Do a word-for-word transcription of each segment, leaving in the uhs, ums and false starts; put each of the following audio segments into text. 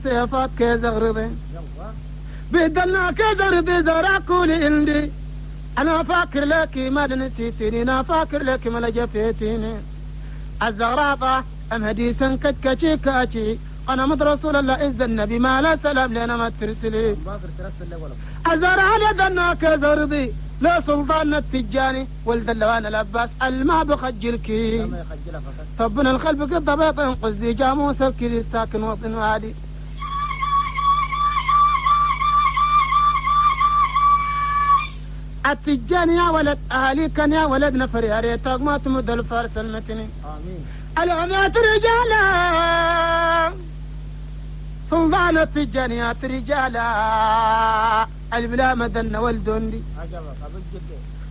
سيفات كزغرضي بدلنا كزغرضي زرع كل عندي أنا فاكر لك ما نسيتني أنا فاكر لك ما لجفيتني الزغراطة أم هديسا كتكتشي كاتشي أنا مد رسول الله إذا النبي ما لا سلام لنا ما ترسلي الزرع لدنا كزرضي لا سلطان التجاني ولد اللوان الأباس الما بخجلكي طبنا الخلف قد بيط ينقذ جاموس بكري ساكن وطن وادي التجاني يا ولد أهلي كان يا ولد نفر يا ريتك ما تمد الفارس المتني آمين العمات رجالا سلطان التجانيات رجالا البلا مدن والدندي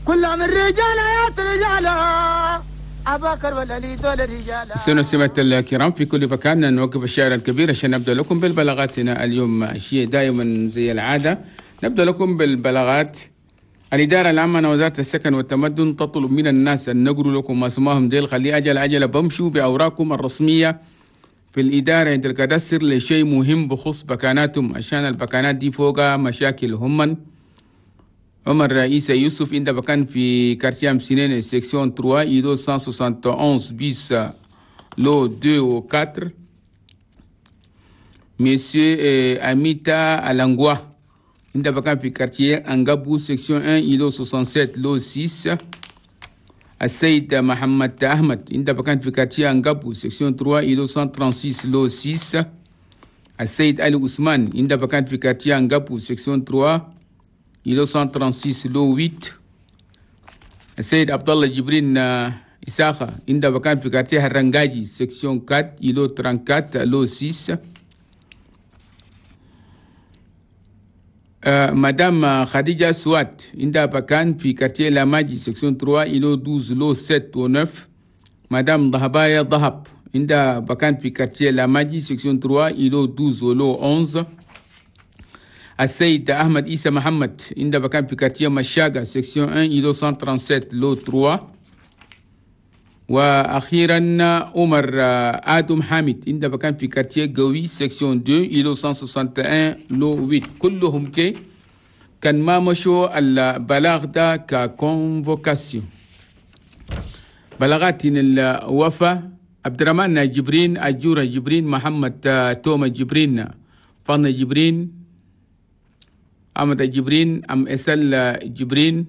كل من رجالات رجالا أباكر والعلي دول رجالا. سنة الكرام في كل مكان، نوقف الشاعر الكبير عشان نبدأ لكم بالبلاغاتنا اليوم. شيء دائما زي العادة نبدأ لكم بالبلاغات. الإدارة العامة وزارة السكن والتمدن تطلب من الناس أن نقروا لكم ما اسمهم ديل خلي أجل أجل بمشوا بأوراقكم الرسمية في الإدارة عند الكادستر لشيء مهم بخص بكاناتهم، عشان البكانات دي فوقها مشاكل. هم عمر رئيس يوسف عند بكان في quartier أمسينين section ثلاثة îlot مية وواحد وستين bis lot اثنين و أربعة. Monsieur Amita Alangwa عند بكان في quartier أنغابو section واحد îlot سبعة وستين lot ستة. السيد محمد أحمد عند بكان في quartier أنغابو section ثلاثة îlot مية وستة وثلاثين lot ستة. السيد علي عثمان عند بكان في quartier أنغابو section ثلاثة îlot مية وستة وثلاثين lot ثمانية. السيد عبد الله جبرين إساخة عند بكان في quartier هرنجاجي section أربعة îlot أربعة وثلاثين lot ستة. آه مدام خديجة سوات عندها بكان في quartier لاماجي section ثلاثة îlot اثنا عشر lot سبعة و تسعة. مدام ضهبايا ضهب عندها بكان في quartier لاماجي section ثلاثة îlot اثنا عشر lot أحد عشر. السيد أحمد إيسى محمد عندها بكان في quartier مشاقة section واحد îlot مية وسبعة وثلاثين lot ثلاثة. وأخيرا عمر آدم حامد عند بكان في quartier قوي section اثنين îlot مية وواحد وستين lot ثمانية. كلهم كي كان ما مشوا البلاغ ده ك convocation. بلاغات الوفا عبد الرحمن جبرين، أجورة جبرين، محمد توما جبرين، فاطمة جبرين، أحمد جبرين، أم إسل جبرين،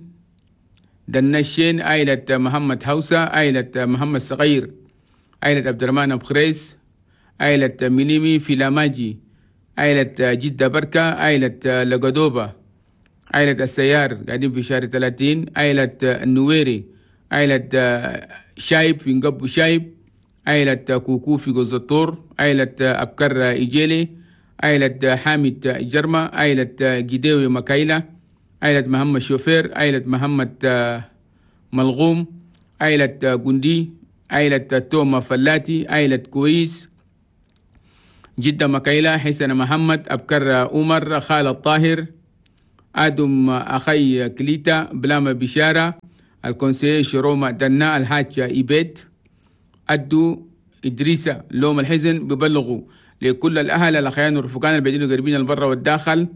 دنشين، عائلة محمد حوسة، عائلة محمد صغير، عائلة عبد الرحمن أبو خريس، عائلة ميليمي فيلاماجي، عائلة جدة بركة، عائلة لقدوبة، عائلة السيار قاعدين في شهر ثلاثين، عائلة النويري، عائلة شايب في نقب شايب، عائلة كوكو في جوز الطور، عائلة أبكر إيجيلي، عائلة حامد جرمة، عائلة جديوي مكايلة، عائلة محمد شوفير، عائلة محمد ملغوم، عائلة جندي، عائلة توما فلاتي، عائلة كويس، جدة مكايلة، حسن محمد، أبكر عمر، خالد طاهر، آدم أخي كليتا، بلاما بشارة، ال conseiller شروما دنا، الحاج إيبيت، أدو إدريسة. لوم الحزن ببلغوا لكل الأهل الأخيان والرفقان البعيدين والقريبين البر والداخل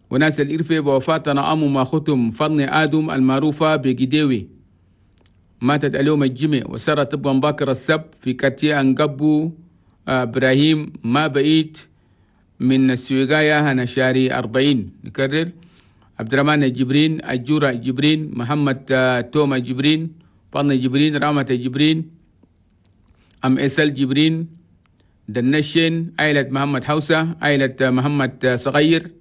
وناس الإرفة بوفاة أم ما ختم فضل آدم المعروفة بجديوي، ماتت اليوم الجمعة وسارت طبقا باكر السبت في quartier أنقبو إبراهيم ما بعيد من السويقاية هنشاري أربعين. نكرر: عبد الرحمن جبرين، أجورة جبرين، محمد توما جبرين، فضل جبرين، رامة جبرين، أم إسل جبرين، دنشين، عائلة محمد حوسة، عائلة محمد صغير،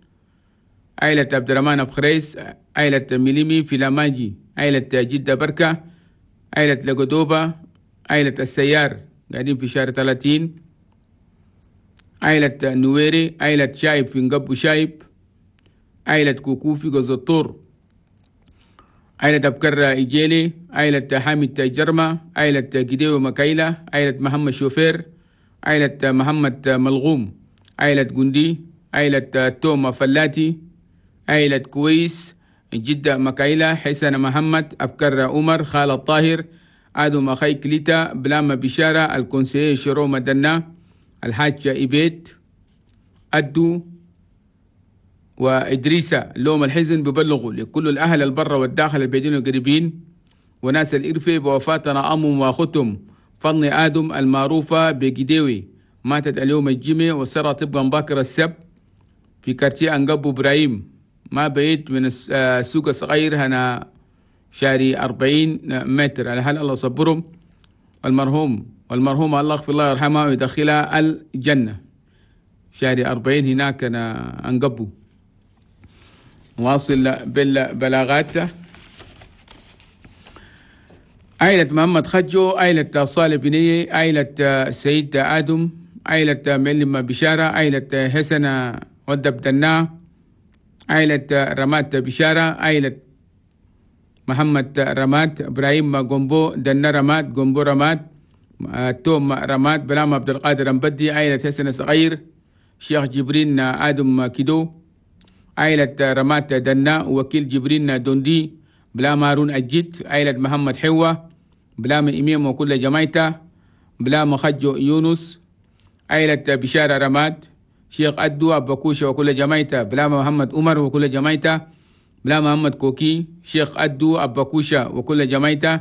عائلة عبد الرحمن أبو خريس، عائلة ميليمي فيلاماجي، عائلة جدة بركة، عائلة لقدوبة، عائلة السيار قاعدين في شهر ثلاثين، عائلة نويري، عائلة شايب في نقب شايب، عائلة كوكو في جوز الطور، عائلة أبكر إيجيلي، عائلة حامد جرمة، عائلة جديو مكايلة، عائلة محمد شوفير، عائلة محمد ملغوم، عائلة جندي، عائلة توما فلاتي، عائلة كويس، جدة مكايلة، حسن محمد، أبكر عمر، خالد طاهر، آدم أخي كليتا، بلاما بشارة، ال conseiller شرو مدنا، الحاج إبيت، أدو وإدريسة لوم الحزن ببلغوا لكل الأهل البر والداخل البيدين القريبين وناس الإرفة بوفاتنا أمهم وأختهم فضل آدم المعروفة بجديوي، ماتت اليوم الجمعة وسرى طبقا باكر السبت في كارتيه أنقبو إبراهيم، ما بعيد من السوق الصغير هنا شاري أربعين متر. على هل الله صبرهم المرحوم والمرحوم الله يغفر الله يرحمها ويدخلها الجنة. شاري أربعين هناك أنا أنقبو. واصل بالبلاغات. عائلة محمد خجو، عائلة صالح بنية، عائلة سيد آدم، عائلة معلم بشارة، عائلة حسن ودب دنا، عائلة رمات بشارة، عائلة محمد رمات، إبراهيم جومبو دنا رمات، جومبو رمات، توم رمات، بلام عبد القادر مبدي، عائلة حسن صغير، شيخ جبرين آدم كيدو، عائلة رمات دنا، وكيل جبرين دوندي، بلام هارون أجيت، عائلة محمد حوة، بلام إمام وكل جمايته، بلام خجو يونس، عائلة بشارة رماد، شيخ أدو أبكوشة وكل جمايته، بلام محمد عمر وكل جمايته، بلام محمد كوكي، شيخ أدو أبكوشة وكل جمايته،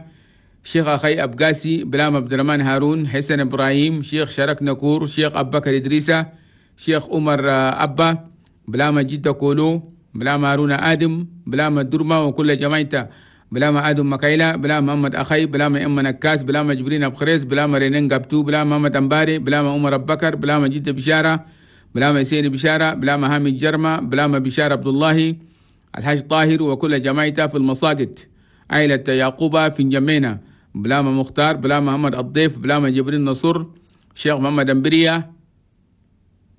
شيخ أخي أبقاسي، بلام عبد الرحمن هارون، حسن إبراهيم، شيخ شرك نكور، شيخ أبو بكر إدريسة، شيخ عمر أبا، بلام جدة كولو، بلام هارون آدم، بلام الدرمة وكل جمايته، بلام آدم مكايلة، بلام محمد أخي، بلام أم نكاس، بلام جبرين أبخريس، بلام رينين قبتو، بلام محمد أمباري، بلام عمر أبو بكر، بلام جدة بشارة، بلام حسين بشارة، بلام هامي جرمة، بلام بشارة عبد الله، الحاج طاهر وكل جمايته في المساجد، عائلة يعقوبة في جمينة، بلام مختار، بلام محمد الضيف، بلام جبرين نصر، شيخ محمد أمبرية،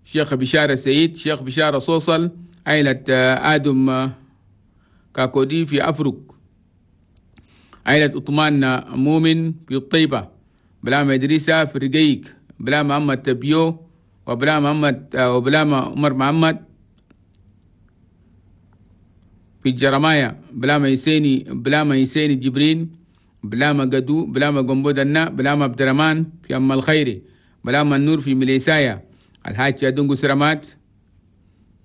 شيخ بشارة سعيد، شيخ بشارة صوصل، عائلة آدم كاكودي في أفرق، عائلة عثمان مؤمن في الطيبة، بلام إدريسة في رقيق، بلام محمد تبيو، وبلام محمد وبلام عمر محمد في الجرمايا، بلام يسيني بلام يسيني جبرين، بلام قدو، بلام قنبودنا، بلام عبد الرحمن في أم الخير، بلام النور في مليسايا، الحاج دونغو سرمات،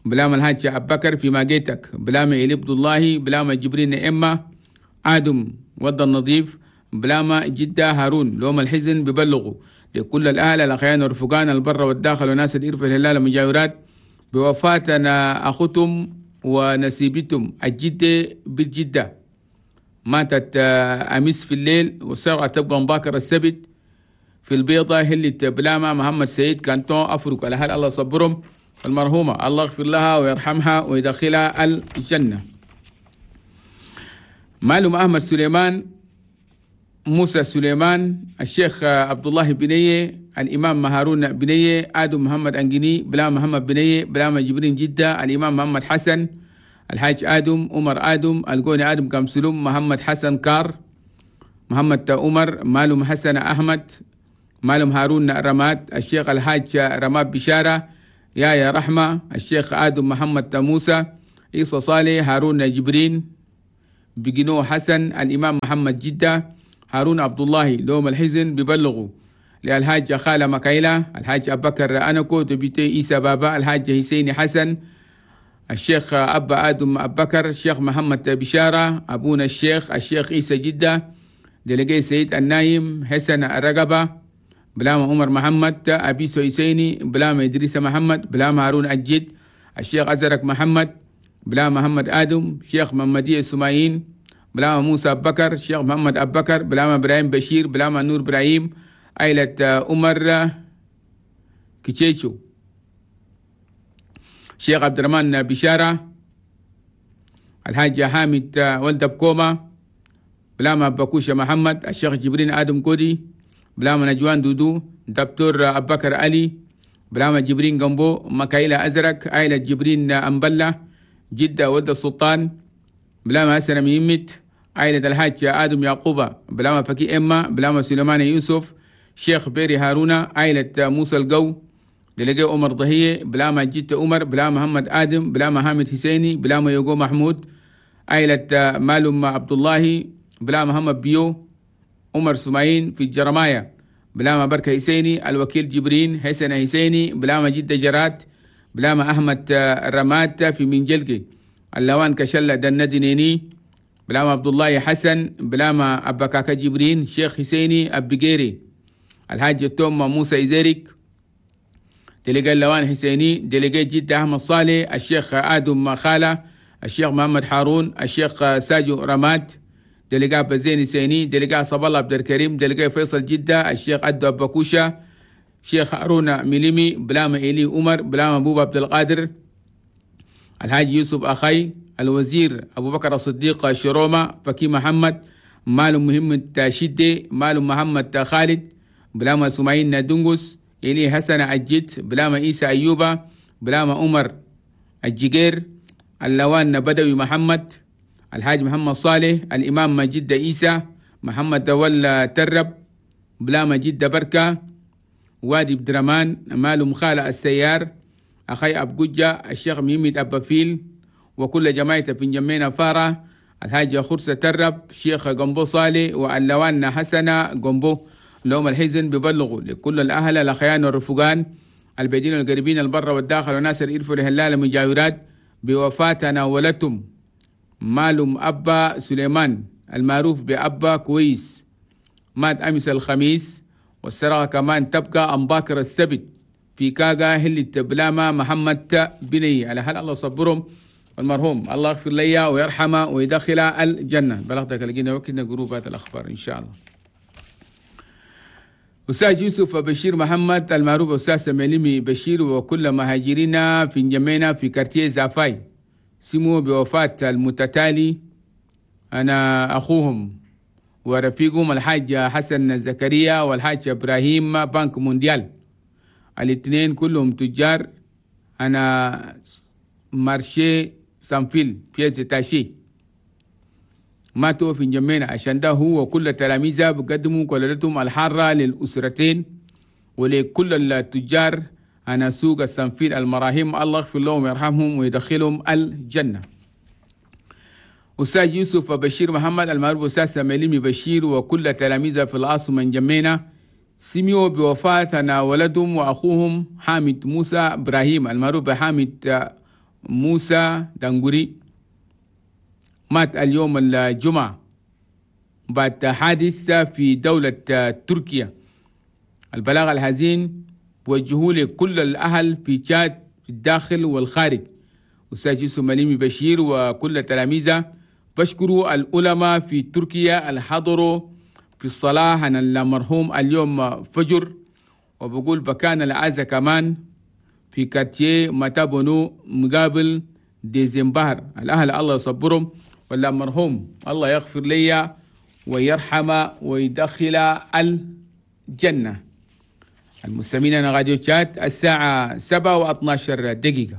بلام الحاج أبو بكر في ماجيتك، بلام إلي عبد الله، بلام جبرين إما آدم ود النظيف، بلام جدة هارون. لوم الحزن ببلغوا لكل الأهل الأخيان والرفقان البر والداخل وناس الإرفة الهلال المجاورات بوفاتنا أخوتهم ونسيبتهم الجدة بالجدة، ماتت أمس في الليل والساعة تبقى مباكر السبت في البيضة هلة بلامة محمد سعيد كانتون أفرق. على هل الله صبرهم المرحومة، الله يغفر لها ويرحمها ويدخلها الجنة. معلوم أحمد سليمان، موسى سليمان، الشيخ عبد الله بنية، الإمام هارون بنية، آدم محمد أنجني، بلا محمد بنية، بلا جبرين جدة، الإمام محمد حسن، الحاج آدم، عمر آدم، القوني آدم كامسلوم، محمد حسن كار، محمد عمر، معلوم حسن أحمد، معلوم هارون رماد، الشيخ الحاج رماد بشارة، يا يا رحمة، الشيخ آدم محمد موسى، عيسى صالح، هارون جبرين، بجنو حسن، الإمام محمد جدة، هارون عبد الله. لوم الحزن ببلغوا للحاج خالة مكايلة، الحاج أبو بكر أنكو، دبيتي عيسى بابا، الحاج حسين حسن، الشيخ أبا آدم أبو بكر، الشيخ محمد بشارة، أبونا الشيخ الشيخ عيسى جدة، دلقي سيد النايم، حسن الرقبة، بلام عمر محمد، أبي سويسيني، بلام إدريس محمد، بلام هارون الجد، الشيخ أزرق محمد، بلام محمد آدم، شيخ محمدية السمايين، بلام موسى أبو بكر، شيخ محمد أبو بكر، بلام إبراهيم بشير، بلام نور إبراهيم، عائلة عمر كيتشيشو، شيخ عبد الرحمن بشارة، الحاج حامد ولد بكوما، بلام بكوشة محمد، الشيخ جبرين آدم كودي، بلام نجوان دودو، دكتور أبو بكر علي، بلام جبرين جنبو، مكايلة أزرق، عائلة جبرين أمبلة، جدة ولد السلطان، بلام حسن ميمت، عائلة الحاج آدم يعقوبة، بلام فكي إما، بلام سليمان يوسف، شيخ بيري هارون، عائلة موسى القو، دلقي عمر ضهية، بلام جدة عمر، بلام محمد آدم، بلام حامد حسيني، بلام يوغو محمود، عائلة مالوم عبد الله، بلام محمد بيو، عمر سمايين في الجرمايا، بلام بركة حسيني، الوكيل جبرين، حسن حسيني، بلام جدة جرات، بلاما أحمد رمات في منجلقي اللوان كشلة دندنيني بلاما عبد الله حسن بلاما أبكاكا جبرين شيخ حسيني أبجيري الحاج توم موسى إزيريك دلقاء اللوان حسيني دلقاء جدة أحمد صالح الشيخ آدم خالة الشيخ محمد حارون الشيخ ساجو رماد دلقاء بزين حسيني دلقاء صب الله عبد الكريم دلقاء فيصل جدة الشيخ أدو أبكوشة شيخ هارون ميليمي بلاما إلي عمر بلاما بوبا عبد القادر الحاج يوسف أخي الوزير أبو بكر الصديق شروما فكي محمد مال مهم تاشدي مال محمد خالد بلاما سمعين دنجس إلي حسن عجيت بلاما إيسى أيوبا بلاما عمر الجير اللوان بدوي محمد الحاج محمد صالح الإمام مجد إيسى محمد دول ترب بلاما جد بركة وادي بدرمان مال مخالة السيار أخي أبجوجة الشيخ ميمد أبافيل وكل جماعة في جمينا فارة الحاج خرسة ترب شيخ جنبو صالح واللوان حسنة جنبو لهم الحزن ببلغوا لكل الأهل الأخيان والرفقان البعيدين والقريبين البر والداخل وناس الإرف والهلال المجاورات بوفاة ناولتهم مالهم أبا سليمان المعروف بأبا كويس مات أمس الخميس والسرقة كمان تبقى أمباكر السبت في كاغا هل بلاما محمد بني على هل الله صبرهم والمرحوم الله يغفر لي ويرحمه ويدخل الجنة. بلغتك لقينا وقتنا جروبات الأخبار إن شاء الله. أستاذ يوسف بشير محمد المعروف أستاذ مليمي بشير وكل مهاجرين في جمينا في كارتيه زافاي سموا بوفاة المتتالي أنا أخوهم ورفيقهم الحاج حسن زكريا والحاج إبراهيم بنك مونديال الاثنين كلهم تجار أنا marché sans fil pièces détachées ماتوا في جمينا عشان ده هو وكل تلاميذه بقدموا كلتهم الحارة للأسرتين ولكل التجار أنا سوق ال sans fil المراهيم الله يغفر لهم ويرحمهم ويدخلهم الجنة. أستاذ يوسف بشير محمد المعروف أستاذ مليمي بشير وكل تلاميذه في العاصمة جمينا سمعوا بوفاة أنا ولدهم وأخوهم حامد موسى إبراهيم المعروف بحامد موسى دنغوري مات اليوم الجمعة بعد حادث في دولة تركيا. البلاغ الحزين وجهوا لكل الأهل في تشاد في الداخل والخارج. أستاذ يوسف مليمي بشير وكل تلاميذه بشكروا العلماء في تركيا الحضروا في الصلاة عن المرحوم اليوم فجر وبقول بكان العزاء كمان في quartier ماتابونو مقابل ديزمبهر. الأهل الله يصبرهم ولا مرحوم الله يغفر لي ويرحم ويدخل الجنة. المستمعين أنا راديو تشاد الساعة سبعة واثناشر دقيقة.